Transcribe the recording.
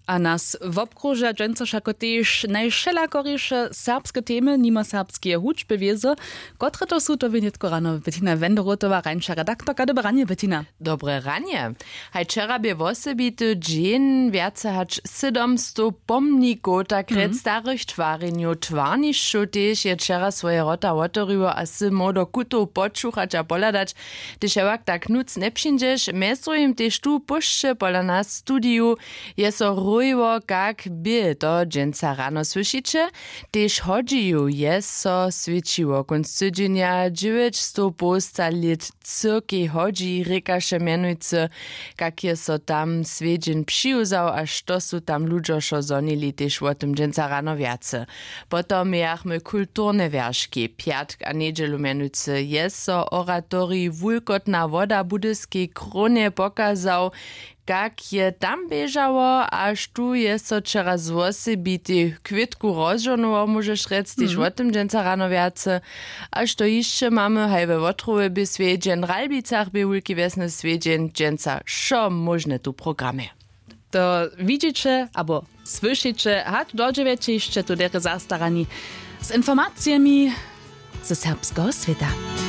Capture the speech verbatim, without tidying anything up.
A nas wobkruža dźensa wšako tež najwšelakoriše serbske temy nimo serbskeje hudźby wězo. Kotre to su, to bě nětko rano Bettina Wenderotowa, rańša redaktorka. Dobre ranje, Bettina. Dobre ranje. Haj, wčera bě wosebity dźeń, wjace hač sydomstow pomnikow, tak rjec, starych twarjenjow, twarnišćow tež je wčera swoje wrota wotewriło a sy móhł do kutow počuchać a pohladać. Hdyž hewak tak nutř njepřińdźeš, mjez druhim tež tu w Pósće pola nas w studiju, je so rojiło kak bě, to dźensa rano słyšiće. Tež hodźiju je so swěćiło kónc tydźenja, dźewjećstow połsta lět cyrkej hodźi, rěkaše mjenujcy, kak je so tam swjedźeń přiwzał a što su tam ludźo wšo zhonili, tež wo tym dźensa rano wjace. Potom mějachmy kulturne wjerški. Pjatk a njedźelu mjenujcy je so oratorij Wulkotna woda w Budyskej Krónje pokazał, kak je tam běžało, a štó je so wčera z wosebitej chwětku rozžohnował, móžeš rjec, tež wo tym dźensa rano wjace. A što hišće mamy haj we Wotrowje? Bě swjedźeń, w Ralbicach bě wulki wjesny swjedźeń, dźensa wšo móžne tu w programje. To widźiće abo słyšiće hač do dźewjećich, hišće tu derje zastarani z informacijemi ze serbskeho swěta.